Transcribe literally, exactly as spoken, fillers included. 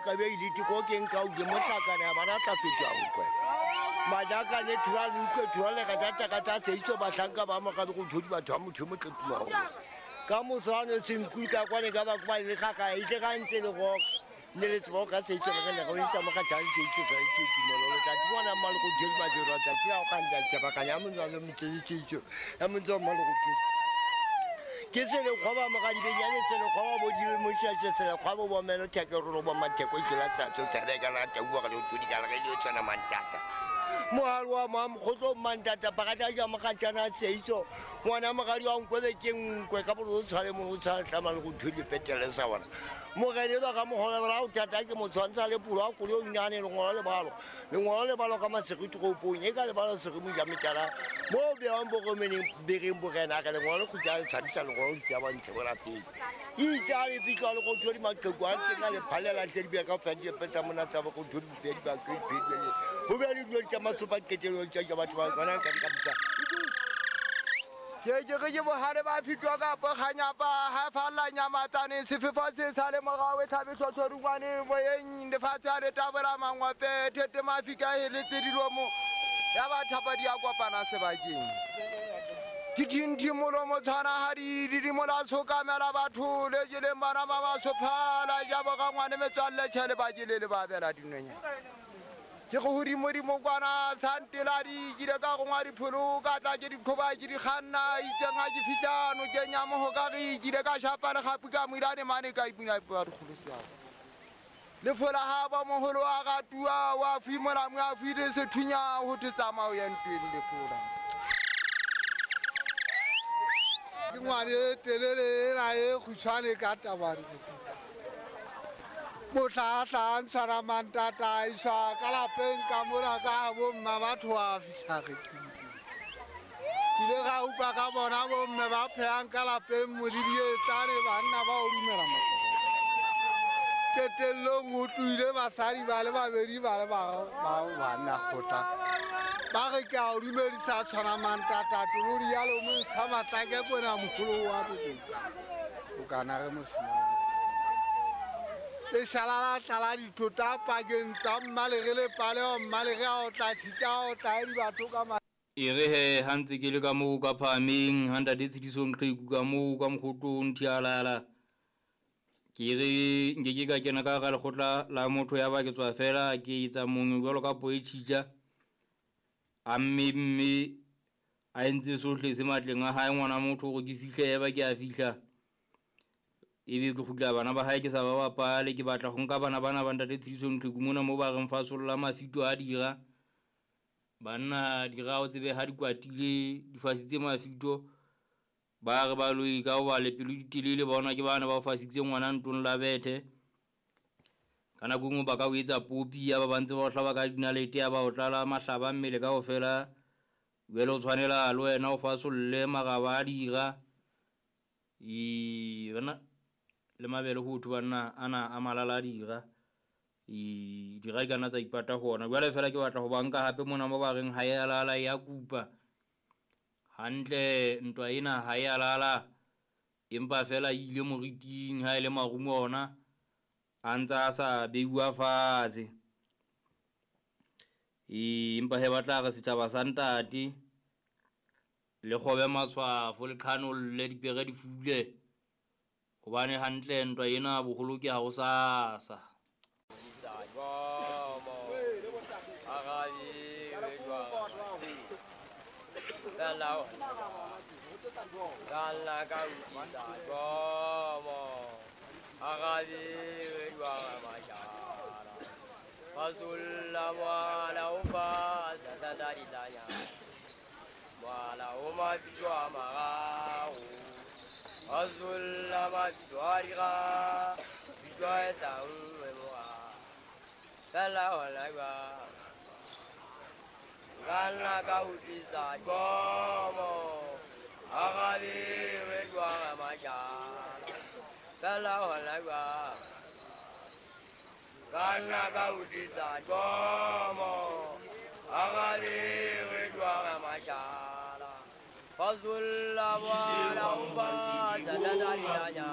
ka be ile tiko ke nka o ke mohlakana ba na tla fetwa nkwe majaka le thwa le utlwe thwa le ka tata ka tsa seitso bahlanka ba moka go thodi batho ba motho mo tletuma ho ka moswane senkul ka kwane ka ba kwa le kaka ile ka ntse le go ne le tsebo ka seitso re le go itsa mo ka tsang ke itse tsa itse tumelo le tsa tswana mal go dira ba dira tsa tla o ka nda tsa ba ka ya montswa le motse itse ya montswa mal go thodi ke se le khoba mo ga di benyane se le khoba bo dire mo sha se le khoba bo melo theke ro bo matheko ke la tsa tsa tsa ka la tau ga le thodi ka le le tsana mantata mohalo wa mo mkhotlo mantata pakata ja mo ga tsana seitso ngwana mogadi wa nkwe ke nkwe ka bo tshware mo o tshwara tlama le go thodi petele sa bona mogedi ka mohola ra o tata ke motshwantsha le pulo a kolo nyane le ngolo le balo le ngolo le balo ka masegiti go ponye ka le balo se mo ja metara mo be wa mbo meneng bereng borena ka le ngolo go ja tshabisa le ngolo ja ba ntshe bona pele itsa le pitlo le go thodi maqeko a teng le phalela tle di be ka fa di petsa mona tsa go thodi di ba ke pele ho be le dilo tsa masopa qetelo tsa ja batho ba bana ka ka bitsa ke ke ke bohare ba fitwa ka poganyapa ha falla nyamatsane sefefo se sale morao e thabe tlhotlhorungwane moyeng lefatshe a re tabora mangwape thete mafika heletse dilomo ya ba thapa di a kopana sebakeng ke thinthi molomo tshwana ha di didimo la tshokamela batho le jeleng bana ba ba sophala ja bo ka ngwane metswalle tjhele ba jele le ba bela dinonyana ke go hodimo dimo kwana santela di kile ka go ngwa dipholo ka tla ke dikhoba ke di kganna itseng ha ke fihla no ke nya mo ka re kile ka shapa le gapu ka moirane mane ka ipina ba dikgolo sa le fola ha ba moholo a ga tua wa fimola mo a file sethunya ho tsamao ya ntweng le fola ke ngwane telele la e khutshwane ka tabare motla tla ntshwara mantata isa ka lapeng ka mora ka bo mma batho a fihla re ke ile ga utlwa ka bona bo mme ba phehang ka lapeng modidietsane banna ba o dumela makoko qetellong ho tlohile basadi ba le babedi ba le ba banna kgotla ba re ke a o dumedisa tshwana mantata tolodi ya lomong sa matlake bona moholo wa pele o kana re mosimane le shala la tlala dithota pakeng tsa mmalere le paleo mmalere a o tla tshitsa o tla di batho ka ma e re he ha ntse ke le ka moo ka phahameng ha ntate Tshedisong Qheku ka moo ka mokgotong thialala ke re nke ke ka kena ka hara lekgotla la motho ya ba ke tswa fela ke etsa mongwe jwalo ka po e tjhitja a mme mme a entse sohle se matleng a hae ngwana motho hore ke fihle ya ba ke a fihla ebe ke kgutla bana ba hae ke sa ba bapale ke batla ho nka bana bana ba ntate Tshedisong Qheku mona mo ba reng fasolla mafito a dira banna dira o tsebe ha di kwatile di fasitse mafito ba re ba loi ka ho ba le pelo di telele bona ke bana ba fasitse ngwana ntong la bethe ka nako nngwe ba ka o etsa popi ya ba ba ntse ba o hlaba ka dinalete ya ba o tlala mahlaba mmele kaofela jwale o tshwanela le wena o fasolle maraba a dira e bana le mabele ho thwe banna ana a malala a dira e dira di kana tsa ipata hona jwale fela ke batla ho ba nka hape mona mo ba reng ha ya lala ya kupa hantle ntwa ena ha ya lala empa fela ile moriting ha ile marumo ona a ntsa sa beiwa fatshe e empa he batla re setjhaba sa ntate le kgobe matshwafo le qhanolle dipere di fule hobane hantle ntwa ena boholo ke ha ho sasa Fazulla wa la uba da da da ya